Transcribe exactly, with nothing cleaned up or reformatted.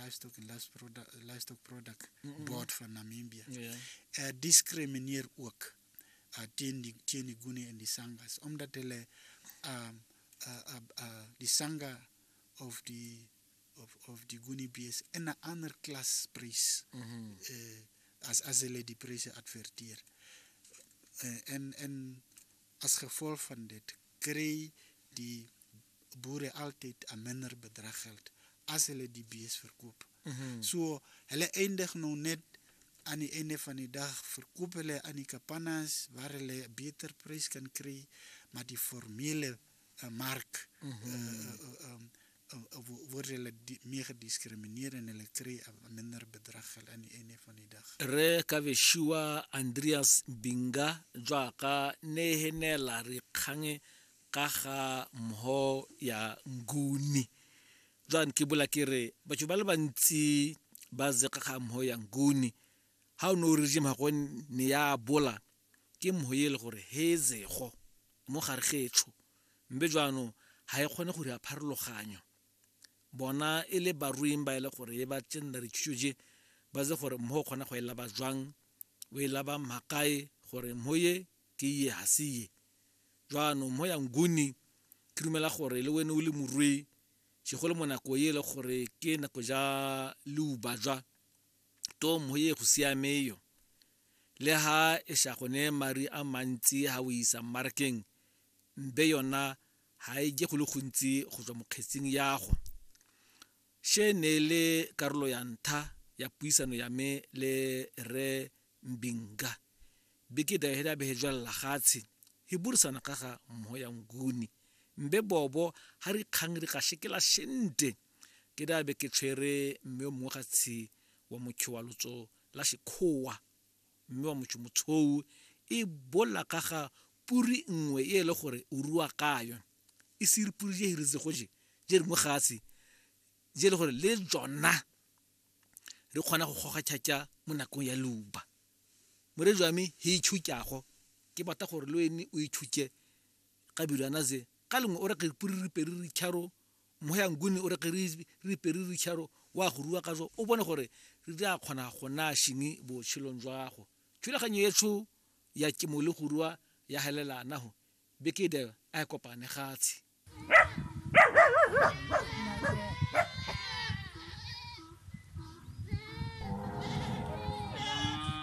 Livestock en Livestock Livestock Product Board van Namibië. Ja. Uh, discrimineer ook uh, teen die teen die Nguni en die Sangas, omdat hulle uh, uh, uh, uh, die Sanga of die of of die Nguni bees in 'n ander klas prys Mm -hmm. uh, as as hulle die pryse adverteer. Uh, en en as gevolg van dit kry die boere altyd 'n minder bedrag geld as hulle die bees verkoop. Mm -hmm. So hulle eindig nou net aan die einde van die dag verkoop hulle aan die kapannas waar hulle 'n beter prys kan kry, maar die formele uh, mark Mm -hmm. uh, uh, um, uh, uh, word hulle die, meer gediskrimineer en hulle kry 'n minder bedrag geld aan die einde van die dag. Re Kabeshiwa Andreas Binga jaaka ne henela re kgange ka ga mho ya Nguni. Jwang ke bola ke re batho ba le bantsi ba zeka ga mho ya Nguni. Ha o no regime ha go ne ya bola ke mho e le gore hezego mo gare getsho mbe jwano ha e kgone go re pharologanyo. Bona e le baruing ba ile gore e ba tsenna re tshuje ba ze gore mho kgona go ela ba jwang o ela ba makae gore mho ye ke ye ha se ye. Jwano mho ya Nguni ke dumela gore le wena o le morui segolo mo nako e le gore ke nako ja leuba jwa to mho ye go siameyo le ha e sha gone mari a mantsi ha o isa mmarakeng mbe yona ha e je go le gontsi go tswa mokgetsing ya go. She ne le karolo ya ntha ya puisano ya me le re Mbinga beke da hela be jwalla gatse he burisana ka ga mho ya Nguni mbe bobo ha re kgang re ka shekela shente ke da be ke tshwere mme o mongwe ga tshi wa motho wa lotso la Sekgowa mme wa motho motshou e bola ka ga puri nngwe e le gore o rua ka yone e se re puri je re go je je re mo gatse je le gore le jona re kgona go goga tšhatša mo nakong ya leuba. Moredi wa me he itšhutšago ke batla gore le wene o itšhutše ka bilwana ze ka lengwe o reke puri re peri re tšharo mo ya Nguni o reke re peri re tšharo wa go rua ka jo o bone gore re di a kgona go na shing botshelong jwa go. Thulaganyo etsho ya temo le go rua ya helelana ho beke de a kopane gatse.